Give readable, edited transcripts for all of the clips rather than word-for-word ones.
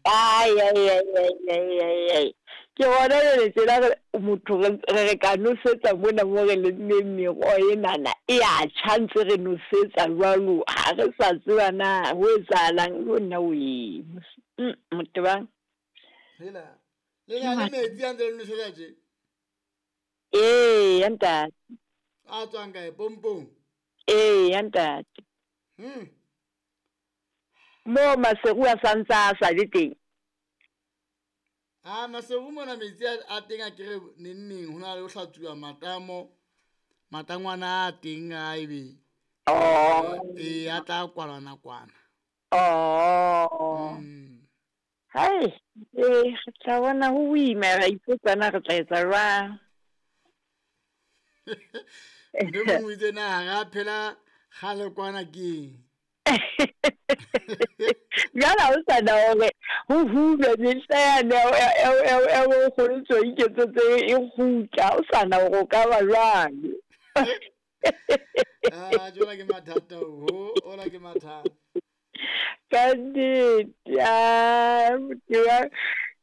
Ai, ai, ai, ai, ai, ai, ai. Ke gona jale tjena re motho re re re ka nosetsa mona mo re lemmeng meroho enana e a tjha ntse re nosetsa jwalo ha re sa tseba na ho etsahalang jo nna wee Motebang. Hela, le na le metsi a ntse le nosetsa tje? Ee, ya ntate. A tswang kae? Pompong? Ee, ya ntate. Moo Maseru a sa ntsa a sa le teng. A Maseru mona metsi a teng a kere neng neng ho na le ho hlatsuwa matamo matangwana a teng a ebe Oh. ee a tla kwalwa nakwana. Oh. Hai, ee, re tla bona ho boima ra ipotsa na re tla etsa jwang. Ntho e mongwe itse na ga re a phela kgale kwana keng. Jwale ha o sa na hore ho hulwe mehla yane ya bonkgono tso iketsetse e kgutla, ha o sa na hore o ka ba jwang. Ah, jwale ke mathata ho, ona ke mathata. Ka nnete, ah, motho wa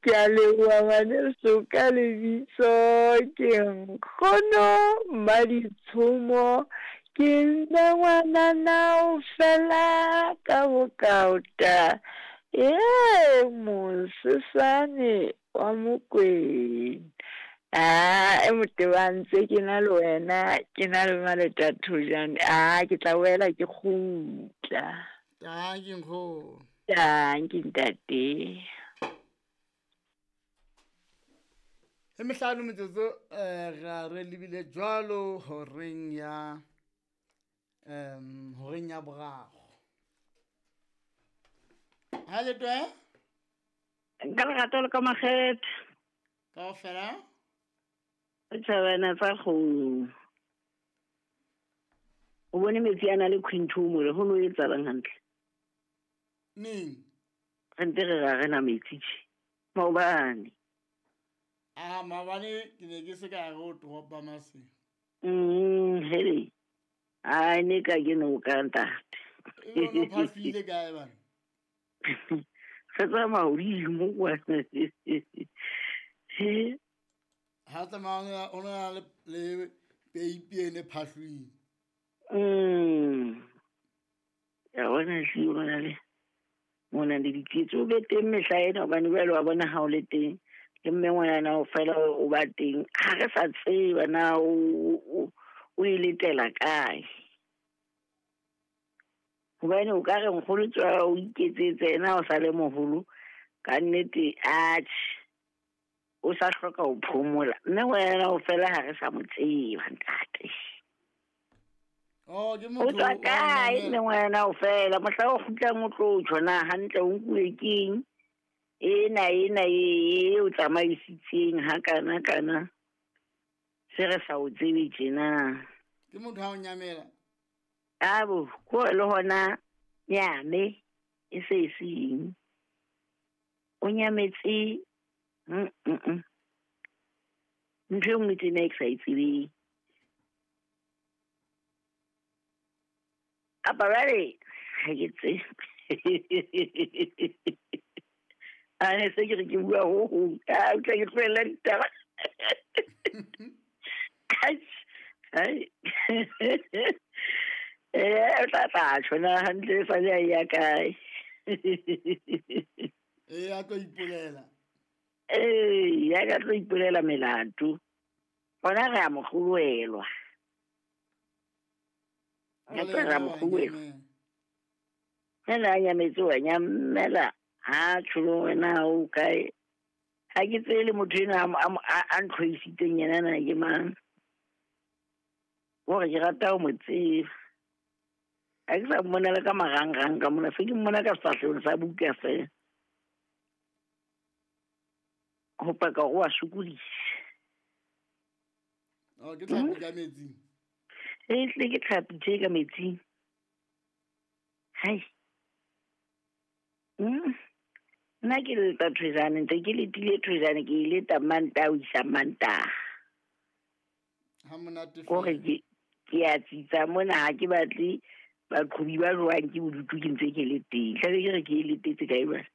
ke a leboha ngwaneso ka lebitso ke nkgono Mmaditshomo ke nna ngwanana o fela ka bokaota ee mosesane wa Mokwena. Aa e moteba ntse ke na le wena ke na le Maleta Thojane aa ke tla boela ke kgutla. Tanki nkgono. Tanki ntate. E mehlano metsotso eh, ra re lebile jwalo horeng ya um horeng ya boraro. Ha le twe? Ka lerato le ka makgethe. Kaofela? Tjhabana tsa kgomo. O bone metsi a na le quinto mole ho no etsahalang hantle? Neng? Re ntse re ra rena metsi tje. Maobane. Ah, maobane ke ne ke se ka re o toropa mase. Hele. Ai ne ka ke no ka ntate. E no phafile kae bana? Re tsamaya hodimo kwana. He. Ha tsamaya o na le le peipi e ne phahlweng. Ya bona hle o na le mona le diketso o be teng mehla ena hobane jwale wa bona ha o le teng le mme ngwanana o fela o ba teng ha re sa tseba na o e letela kae. Hobane o ka re nkgono tswa o iketsetse yena o sa le moholo ka nnete atjhe o sa hloka ho phomola mme ngwanana o fela ha re sa mo tseba ntate. Oh, ke O motho tswa wa kae mamela. mme ngwanana o fela mohla o kgutlang o tlo tjho na hantle o nkuwe keng ena ena e o tsamaisitseng ha kana kana se re sa o tsebe tjena. Ke motho ha o nyamela. Abo, ko le hona nyame e se e seng. O nyametse Ntho e nngwe tjena e ke sa e tsebeng. Kapa jwale ha ke tsebe. A ne se ke re ke bua ho hong. A utlwa ke tlohella ditaba. Ai, ai. O tla tla tjho na hantle e sale a ya kae. Ee, a tlo ipolela. Ee, ya ka tlo ipolela melato. Hona re a mo kgolwelwa. Jwale Re a mo yena wa kgolwelwa. nyamela. Ena a nyametse wa nyamela. Ha tjho wena o kae? Ha ke tsebe le motho enwa a ntlhoisitseng yena na ke mang. Hore ke rata ho mo tseba. Ha ke sa mmona le ka marangrang ka mona, se ke mmona ka sefahlehong sa buka feela. Ho paka hore wa sokodisa. Oh, ke tlhapi ka metsing. E tle ke tlhapi tje ka metsing. Hai. Nna ke leta Thwejane, ntse ke letile Thwejane, ke e leta Mantaha ho isa Mantaha. Ha monate Kore feela. ke a tsitsa mona, ha ke batle baqhobi ba jwang ke bodutu ke ntse ke le teng. Tlabe ke re ke e letetse kae jwale?